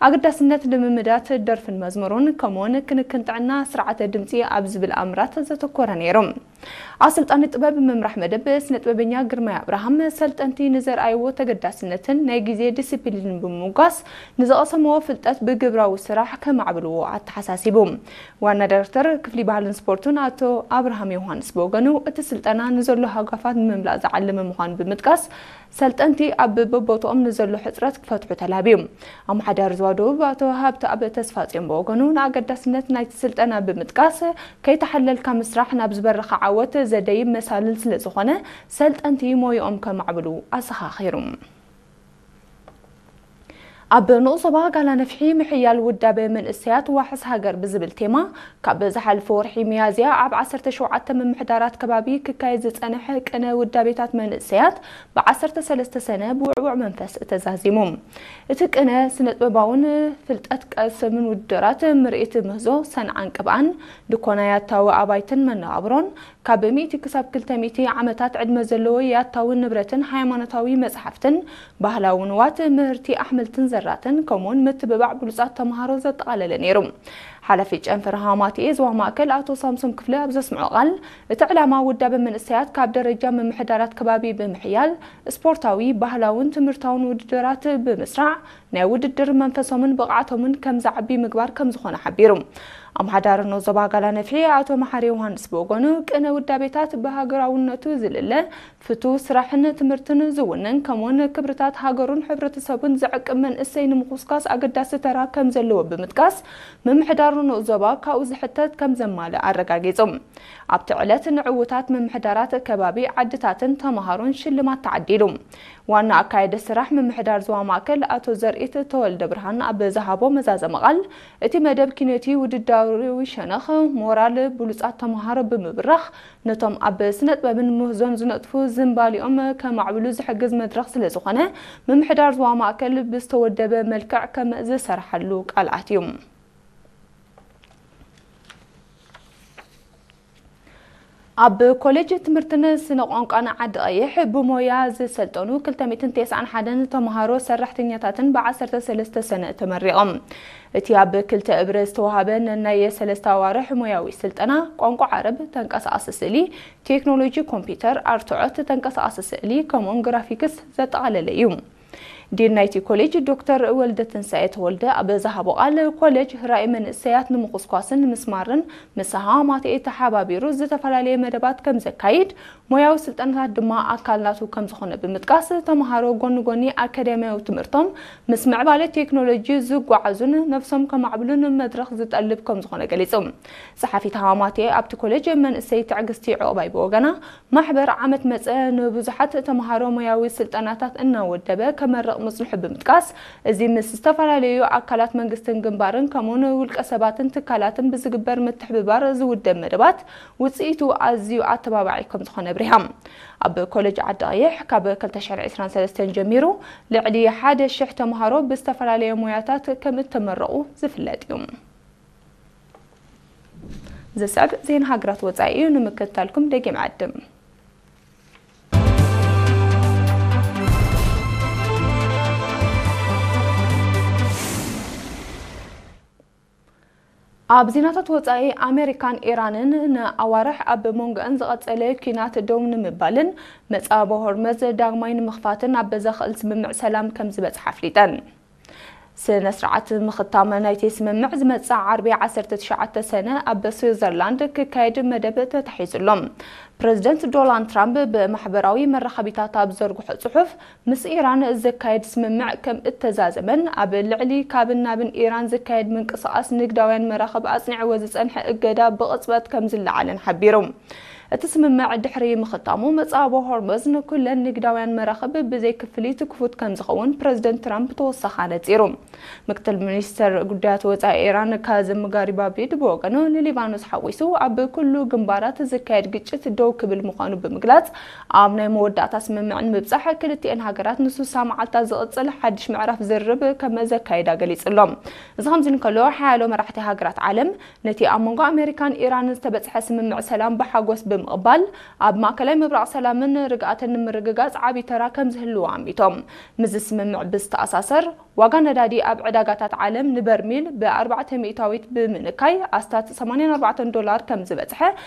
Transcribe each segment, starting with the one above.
ኣገዳስነት ልምምዳት ደርፍን መዝሙሩን ከምኡውን ክንክን ጥዕና ስርዓተ ድምፂ ኣብ ዝብል ኣምራት ዘተኮረ ነይሩ። ኣሰልጣኒ ጥበብ ምምራሕ መደብ ስነ ጥበበኛ ግርማይ ኣብርሃም ሰልጠንቲ ንዘርኣይዎ ተገዳስነትን ናይ ግዜ ዲሲፕሊንን ብምምጓስ ንዝቐሰምዎ ፍልጠት ብግብራዊ ስራሕ ከማዕብልዎ ኣተሓሳሲቡ። ዋና ዳይሬክተር ክፍሊ ባህልን ስፖርትን ኣቶ ኣብርሃም ዮሃንስ ብወገኑ እቲ ስልጠና ንዘሎ ሃጓፋት ንምምላእ ዝዓለመ ምዃኑ ብምጥቃስ ሰልጠንቲ ኣብ በቦትኦም ንዘሎ ሕጽረት ክፈትሑ ተላብዩ። ኣመሓዳሪ ዞባ ደቡብ ኣቶ ሃብተኣብ ተስፋጽዮን ብወገኑ ንኣገዳስነት ናይቲ ስልጠና ብምጥቃስ ከይተሓለልካ ምስራሕ ናብ ዝበረኸ ዓወት ዘደይብ መሳልል ስለ ዝኾነ ሰልጠንቲ ሞይኦም ከማዕብሉ ኣዘኻኺሩ። ኣብ ንኡስ ዞባ ጋላ ነፍሒ ምሕያል ውዳበ መንእሰያት ዋሕስ ሃገር ብዝብል ቴማ ካብ ዝሓለፈ ወርሒ ሚያዝያ ኣብ ዓሰርተ ሸውዓተ ምምሕዳራት ከባቢ ክካየድ ዝጸንሐ ቅነ ውዳቤታት መንእሰያት ብ ዓሰርተ ሰለስተ ሰነ ብውዕዉዕ መንፈስ ተዛዚሙ። እቲ ቅነ ስነ-ጥበባውን ፍልጠት ቀሰምን ውድድራት ምርኢት ምህዞ ሰንዓን ቅብኣን፣ ድኮና ያታዊ ኣባይትን መነባብሮን፣ ካብ ሚእቲ ክሳብ ክልተ ሚእቲ ዓመታት ዕድመ ዘለዎ ያታዊ ንብረትን ሃይማኖታዊ መጽሓፍትን፣ ባህላዊ ንዋት፣ ምህርቲ ኣሕምልትን ዘራትን፣ ከምኡውን ምትብባዕ ብሉጻት ተምሃሮ ዘጠቓለለ ነይሩ። ሓላፊ ጨንፈር ሃማቴ ዞባ ማእከል ኣቶ ሳምሶም ክፍለ ኣብ ዘስምዖ ቃል፣ እቲ ዕላማ ውዳበ መንእሰያት ካብ ደረጃ ምምሕዳራት ከባቢ ብምሕያል፣ ስፖርታዊ፣ ባህላውን ትምህርታውን ውድድራት ብምስራዕ፣ ናይ ውድድር መንፈሶምን ብቕዓቶምን ከም ዝዓቢ ምግባር ከም ዝኾነ ሓቢሩ። ኣመሓዳሪ ንኡስ ዞባ ጋላ ነፍሒ ኣቶ መሓሪ ዮሃንስ ብወገኑ፣ ቅነ ውዳቤታት ብሃገራውነቱ ዝልለ ፍቱው ስራሕን ትምህርትን ዝውንን፣ ከምኡውን ክብርታት ሃገሩን ሕብረተሰቡን ዝዕቅብ መንእሰይ ንምኹስኳስ ኣገዳሲ ተራ ከም ዘለዎ ብምጥቃስ፣ ምምሕዳር ንኡስ ዞባ ካብኡ ዝሕተት ከም ዘማልእ ኣረጋጊጹ። ኣብቲ ዕለት ንዕዉታት ምምሕዳራት ከባቢ፣ ዓድታትን ተምሃሮን ሽልማት ተዓዲሉ። ዋና ኣካያዲ ስራሕ ምምሕዳር ዞባ ማእከል ኣቶ ዘርኢት ተወልደ ብርሃን ኣብ ዝሃቦ መዛዘሚ ቃል፣ እቲ መደብ ኪነቲ ውድድራዊ ሸነኽ ሞራል ብሉጻት ተምሃሮ ብምብራኽ፣ ነቶም ኣብ ስነ ጥበብን ምህዞን ዝነጥፉ ዝንባሊኦም ከማዕብሉ ዝሕግዝ መድረኽ ስለ ዝኾነ፣ ምምሕዳር ዞባ ማእከል ብዝተወደበ መልክዕ ከም ዝሰርሓሉ ቃል ኣትዩ። ኣብ ኮሌጅ ትምህርትን ስነ ቋንቋን ዓዲ ቀይሕ ብሞያ ዝሰልጠኑ ክልተ ሚእትን ተስዓን ሓደን ተምሃሮ ሰራሕተኛታትን ብ ዓሰርተ ሰለስተ ሰነ ተመሪቖም። እቲ ኣብ ክልተ እብረ ዝተዋህበ ነናይ ሰለስተ ኣዋርሕ ሞያዊ ስልጠና ቋንቋ ዓረብ፣ ተንቀሳቓሲ ስእሊ፣ ቴክኖሎጂ ኮምፒውተር፣ ኣርትዖት፣ ተንቀሳቓሲ ስእሊ ከምኡውን ግራፊክስ ዘጠቓለለ እዩ። ዲን ናይቲ ኮሌጅ ዶክተር ወልደትንሳኤ ተወልደ ኣብ ዝሃቦ ቃል፣ ኮሌጅ ራእይ መንእሰያት ንምኹስኳስን ንምስማርን ምስ ሃማቴ ተሓባቢሩ ዝተፈላለየ መደባት ከም ዘካይድ፣ ሞያዊ ስልጠናታት ድማ ኣካል ናቱ ከም ዝኾነ ብምጥቃስ፣ ተምሃሮ ጎኒ ጎኒ ኣካዳሚያዊ ትምህርቶም ምስ ምዕባለ ቴክኖሎጂ ዝጓዓዙን ነብሶም ከማዕብሉን መድረኽ ዝጠልብ ከም ዝኾነ ገሊጹ። ጸሓፊት ሃማቴ ኣብቲ ኮሌጅ መንእሰይ ትዕግስቲ ዑቕባይ ብወገና፣ ማሕበር ዓመት መጸ ንብዙሓት ተምሃሮ ሞያዊ ስልጠናታት እናወደበ ከመርቕ ምጽንሑ ብምጥቃስ፣ እዚ ምስ ዝተፈላለዩ ኣካላት መንግስትን ግንባርን ከምኡውን ውልቀ ሰባትን ትካላትን ብዝግበር ምትሕብባር ዝውደብ መደባት ውጽኢቱ ኣዝዩ ኣተባባዒ ከም ዝኾነ ኣብሪሃ። ኣብ ኮሌጅ ዓዲ ቀይሕ ካብ ክልተ ሽሕን ዕስራን ሰለስተን ጀሚሩ ልዕሊ ሓደ ሽሕ ተምሃሮ ብዝተፈላለየ ሞያታት ከም እተመረቑ ዝፍለጥ እዩ። ዝስዕብ ዜና ሃገራት ወጻኢ እዩ፣ ንምክትታልኩም ደጊም ዕድም። ኣብ ዜናታት ወጻኢ፣ ኣሜሪካን ኢራንን ንኣዋርሕ ኣብ መንጎአን ዝቐጸለ ኲናት ደው ንምባልን መጻበ ሆርመዝ ዳግማይ ንምኽፋትን ኣብ ዘኽእል ስምምዕ ሰላም ከም ዝበጽሓ ኣፍሊጠን። ስነ ስርዓት ምኽታም ናይቲ ስምምዕ ዝመጽእ ዓርቢ ዓሰርተ ትሽዓተ ሰነ ኣብ ስዊዘርላንድ ክካየድ መደብ ተታሒዙ ኣሎ። ፕረዚደንት ዶናልድ ትራምፕ ብማሕበራዊ መራኸቢታት ኣብ ዘርግሖ ጽሑፍ፣ ምስ ኢራን ዝካየድ ስምምዕ ከም እተዛዘመን ኣብ ልዕሊ ካብን ናብን ኢራን ዝካየድ ምንቅስቓስ ንግዳውያን መራኽብ ኣጽኒዕዎ ዝጸንሐ እገዳ ብቕጽበት ከም ዝለዓለን ሓቢሩ። እቲ ስምምዕ ድሕሪ ምኽታሙ፣ መጻብቦ ሆርሙዝ ንኩለን ንግዳውያን መራኽብ ብዘይ ክፍሊት ክፉት ከም ዝኸውን ፕረዚደንት ትራምፕ ተወሳኺ ኣነጺሩ። ምክትል ሚኒስተር ጉዳያት ወጻኢ ኢራን ካዝም ጋሪባብዲ ብወገኑ፣ ንሊባኖስ ሓዊሱ ኣብ ኩሉ ግንባራት ዝካየድ ግጭት ደው ክብል ምዃኑ ብምግላጽ፣ ኣብ ናይ መወዳእታ ስምምዕ ንምብጻሕ ክልቲኤን ሃገራት ንስሳ መዓልታት ዝቕጽል ሓድሽ ምዕራፍ ዝርርብ ከም ዘካይዳ ገሊጹ ኣሎ። እዚ ከምዚ እንከሎ፣ ሓያሎ መራሕቲ ሃገራት ዓለም ነቲ ኣብ መንጎ ኣሜሪካን ኢራንን ዝተበጽሐ ስምምዕ ሰላም ብሓጎስ ምቕባል ኣብ ማእከላይ ምብራቕ ሰላምን ርግኣትን ንምርግጋጽ ዓቢ ተራ ከም ዝህልዎ ኣሚቶም። ምስዚ ስምምዕ ብዝተኣሳሰር፣ ዋጋ ነዳዲ ኣብ ዕዳጋታት ዓለም ንበርሚል ብ ኣርባዕተ ሚእታዊት ብምንካይ ኣስታት ሰማንያን ኣርባዕተን ዶላር ከም ዝበጽሐ፣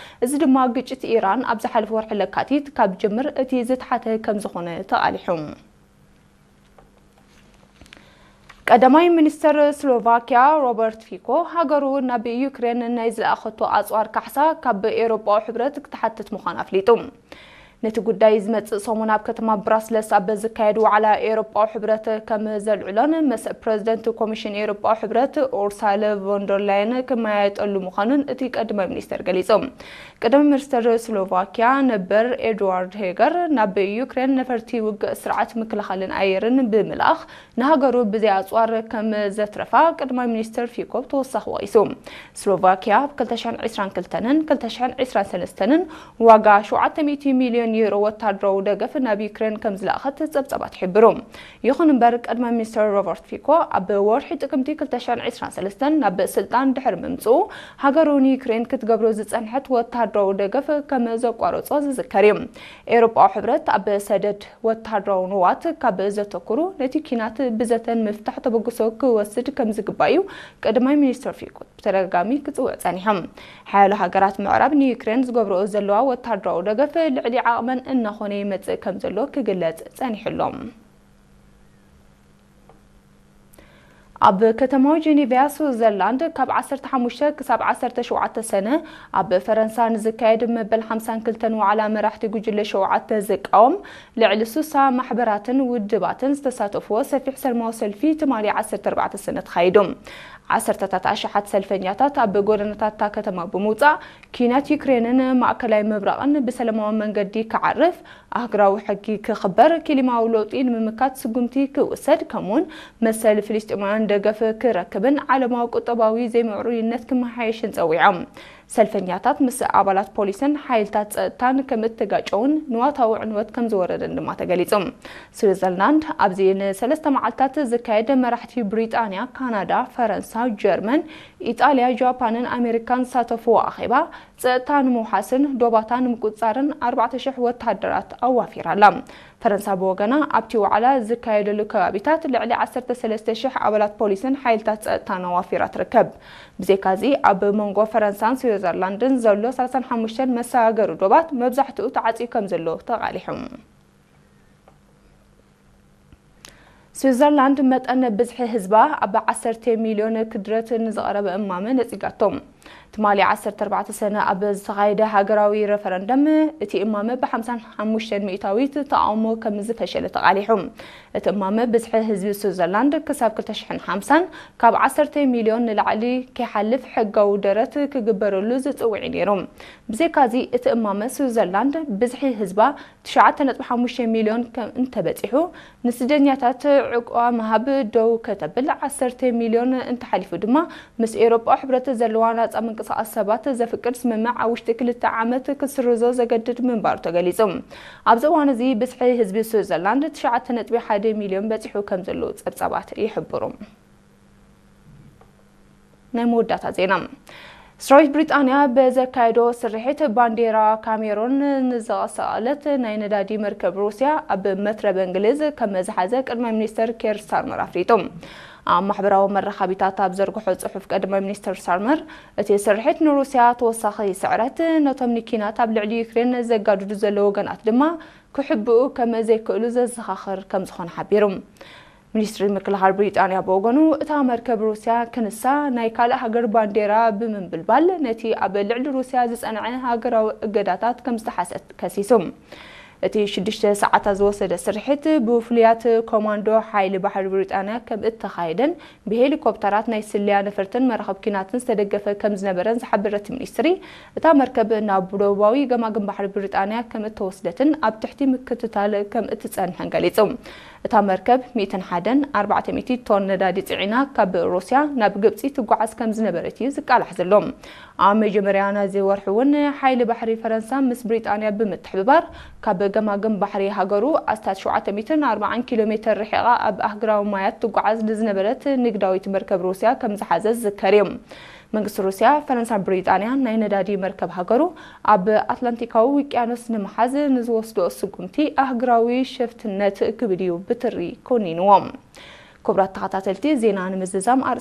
እዚ ድማ ግጭት ኢራን ኣብ ዝሓለፈ ወርሒ ለካቲት ካብ ጅምር እቲ ዝተሓተ ከም ዝኾነ ተቓሊሑ። ቀዳማይ ሚኒስተር ስሎቫኪያ ሮበርት ፊኮ፣ ሃገሩ ናብ ዩክሬን ናይ ዝለኣኸቶ ኣጽዋር ካሕሳ ካብ ኤውሮጳዊ ሕብረት ክትሓትት ምዃኑ ኣፍሊጡ። ነቲ ጉዳይ ዝመጽእ ሰሙን ኣብ ከተማ ብራስለስ ኣብ ዝካየድ ዋዕላ ኤውሮጳዊ ሕብረት ከም ዘልዕሎን ምስ ፕረዚደንት ኮሚሽን ኤውሮጳዊ ሕብረት ኡርሳለ ቮንደርላየን ክመያየጠሉ ምዃኑን እቲ ቀዳማይ ሚኒስተር ገሊጹ። ቀዳማይ ሚኒስተር ስሎቫኪያ ነበር ኤድዋርድ ሄገር፣ ናብ ዩክሬን ነፈርቲ ውግእ ስርዓት ምክልኻልን ኣየርን ብምልኣኽ ንሃገሩ ብዘይ ኣጽዋር ከም ዘትረፋ ቀዳማይ ሚኒስተር ፊኮ ብተወሳኺ ወቒሱ። ስሎቫኪያ ኣብ ክልተ ሽሕን ዕስራን ክልተን ክልተ ሽሕን ዕስራን ሰለስተን ዋጋ ሸውዓተ ሚእቲ ሚልዮን ዩሮ ወታደራዊ ደገፍ ናብ ዩክሬን ከም ዝለኣኸት ጸብጻባት ይሕብሩ። ይኹን እምበር፣ ቀዳማይ ሚኒስተር ሮበርት ፊኮ ኣብ ወርሒ ጥቅምቲ ክልተ ሽሕን ዕስራን ሰለስተን ናብ ስልጣን ድሕሪ ምምጽኡ፣ ሃገሩ ንዩክሬን ክትገብሮ ዝጸንሐት ወታደራዊ ደገፍ ከም ዘቋረጾ ዝዝከር እዩ። ኤውሮጳዊ ሕብረት ኣብ ሰደድ ወታደራዊ ንዋት ካብ ዘተኩሩ፣ ነቲ ኲናት ብዘተ ንምፍታሕ ተበግሶ ክወስድ ከም ዝግባእ እዩ ቀዳማይ ሚኒስተር ፊኮ ብተደጋጋሚ ክጽውዕ ጸኒሑ። ሓያሎ ሃገራት ምዕራብ ንዩክሬን ዝገብርኦ ዘለዋ ወታደራዊ ደገፍ ልዕሊ ዓቕመን እናኾነ ይመጽእ ከም ዘሎ ክግለጽ ጸኒሑ ኣሎ። ኣብ ከተማዊ ጄኔቫ ስዊዘርላንድ ካብ ዓሰርተ ሓሙሽተ ክሳብ ዓሰርተ ሸውዓተ ሰነ ኣብ ፈረንሳ ንዝካየድ መበል ሓምሳን ክልተን ዋዕላ መራሕቲ ጉጅለ ሸውዓተ ዝቃወም ልዕሊ ስሳ ማሕበራትን ውድባትን ዝተሳተፍዎ ሰፊሕ ሰላማዊ ሰልፊ ትማሊ ዓሰርተ ኣርባዕተ ሰነ ተኻይዱ። ዓሰርተታት ኣሽሓት ሰልፈኛታት ኣብ ጎደናታት እታ ከተማ ብምውጻእ፣ ኲናት ዩክሬንን ማእከላይ ምብራቕን ብሰላማዊ መንገዲ ክዓርፍ፣ ኣህጉራዊ ሕጊ ክኽበር፣ ክሊማዊ ለውጢ ንምምካት ስጉምቲ ክውሰድ፣ ከምኡውን መሰል ፍልስጤማውያን ደገፍ ክረክብን ዓለማዊ ቁጠባዊ ዘይምዕሩይነት ክመሓየሽን ጸዊዖም። ሰልፈኛታት ምስ ኣባላት ፖሊስን ሓይልታት ጸጥታን ከም እተጋጨውን ንዋታዊ ዕንወት ከም ዝወረደን ድማ ተገሊጹ። ስዊዘርላንድ ኣብዚ ንሰለስተ መዓልታት ዝካየድ መራሕቲ ብሪጣንያ፣ ካናዳ፣ ፈረንሳ፣ ጀርመን፣ ኢጣልያ፣ ጃፓንን ኣሜሪካን ዝሳተፍዎ ኣኼባ ጸጥታ ንምውሓስን ዶባታ ንምቁጽጻርን ኣርባዕተ ሽሕ ወተሃደራት ኣዋፊራ ኣላ። ፈረንሳ ብወገና ኣብቲ ዋዕላ ዝካየደሉ ከባቢታት ልዕሊ ዓሰርተ ሰለስተ ሽሕ ኣባላት ፖሊስን ሓይልታት ጸጥታን ኣዋፊራ ትርከብ። ብዘይካዚ ኣብ መንጎ ፈረንሳን ስዊዘርላንድን ዘሎ ሰላሳን ሓሙሽተን መሰጋገሪ ዶባት መብዛሕትኡ ተዓጽዩ ከም ዘሎ ተቓሊሑ። ስዊዘርላንድ መጠን ብዝሒ ህዝባ ኣብ ዓሰርተ ሚልዮን ክድረት ንዝቐረበ እማመ ነጺጋቶ። ትማሊ ዓሰርተ ኣርባዕተ ሰነ ኣብ ዝተኻየደ ሃገራዊ ረፈረንደም እቲ እማመ ብ ሓምሳን ሓሙሽተን ሚእታዊት ተቓውሞ ከም ዝፈሸለ ተቓሊሑ። እቲ እማመ ብዝሒ ህዝቢ ስዊዘርላንድ ክሳብ ክልተ ሽሕን ሓምሳን ካብ ዓሰርተ ሚልዮን ንላዕሊ ከይሓልፍ ሕጋዊ ደረት ክግበረሉ ዝጽውዕ እዩ ነይሩ። ብዘይካዚ እቲ እማመ ስዊዘርላንድ ብዝሒ ህዝባ ትሽዓተ ነጥቢ ሓሙሽተ ሚልዮን ከም እንተበጺሑ፣ ንስደኛታት ዕቑባ ምሃብ ደው ከተብል፣ ዓሰርተ ሚልዮን እንተሓሊፉ ድማ ምስ ኤውሮጳ ሕብረት ዘለዋ ናጻ ምንቅስቓስ ሰባት ዘፍቅድ ስምምዕ ኣብ ውሽጢ ክልተ ዓመት ክትስርዞ ዘገድድ ምንባሩ ተገሊጹ። ኣብዚ እዋን እዚ ብዝሒ ህዝቢ ስዊዘርላንድ ትሽዓተ ነጥቢ ሓደ ሚልዮን በጺሑ ከም ዘሎ ጸብጻባት ይሕብሩ። ናይ መወዳእታ ዜና። ሰራዊት ብሪጣንያ ብዘካየዶ ስርሒት ባንዴራ ካሜሮን ንዘቐሰቐለት ናይ ነዳዲ መርከብ ሩስያ ኣብ መትረብ እንግሊዝ ከም መዝሓዘ ቀዳማይ ሚኒስተር ኬር ስታርመር ኣፍሊጡ። ኣብ ማሕበራዊ መራኸቢታት ኣብ ዘርግሖ ጽሑፍ ቀዳማይ ሚኒስተር ስታርመር፣ እቲ ስርሒት ንሩስያ ተወሳኺ ስዕረት፣ ነቶም ንኪናት ኣብ ልዕሊ ዩክሬን ዘጋድዱ ዘለዉ ወገናት ድማ ክሕብኡ ከም ዘይክእሉ ዘዘኻኽር ከም ዝኾነ ሓቢሩ። ሚኒስትሪ ምክልኻል ብሪጣንያ ብወገኑ፣ እታ መርከብ ሩስያ ክንሳ ናይ ካልእ ሃገር ባንዴራ ብምንብልባል ነቲ ኣብ ልዕሊ ሩስያ ዝጸንዐ ሃገራዊ እገዳታት ከም ዝተሓሰት ከሲሱ። እቲ ሽዱሽተ ሰዓታት ዝወሰደ ስርሒት ብፍሉያት ኮማንዶ ሓይሊ ባሕሪ ብሪጣንያ ከም እተኻየደን ብሄሊኮፕተራት ናይ ስለያ ነፈርትን መራኸብ ኲናትን ዝተደገፈ ከም ዝነበረን ዝሓበረ እቲ ሚኒስትሪ፣ እታ መርከብ ናብ ደቡባዊ ገማግም ባሕሪ ብሪጣንያ ከም እተወስደትን ኣብ ትሕቲ ምክትታል ከም እትጸንሕን ገሊጹ። እታ መርከብ ሚእትን ሓደን ኣርባዕተ ሚእቲ ቶን ነዳዲ ጽዒና ካብ ሩስያ ናብ ግብጺ ትጓዓዝ ከም ዝነበረት እዩ ዝቃላሕ ዘሎ። ኣብ መጀመርያ ናይዚ ወርሒ እውን ሓይሊ ባሕሪ ፈረንሳ ምስ ብሪጣንያ ብምትሕብባር ካብ ገማግም ባሕሪ ሃገሩ ኣስታት ሸውዓተ ሚእትን ኣርባዓን ኪሎ ሜተር ርሒቓ ኣብ ኣህጉራዊ ማያት ትጓዓዝ ንዝነበረት ንግዳዊት መርከብ ሩስያ ከም ዝሓዘ ዝዝከር እዩ። መንግስቲ ሩስያ፣ ፈረንሳን ብሪጣንያን ናይ ነዳዲ መርከብ ሃገሩ ኣብ ኣትላንቲካዊ ውቅያኖስ ንምሓዝ ንዝወስዶ ስጉምቲ ኣህጉራዊ ሸፍትነት ክብል እዩ ብትሪ ኮኒንዎ። ክቡራት ተኸታተልቲ፣ ዜና ንምዝዛም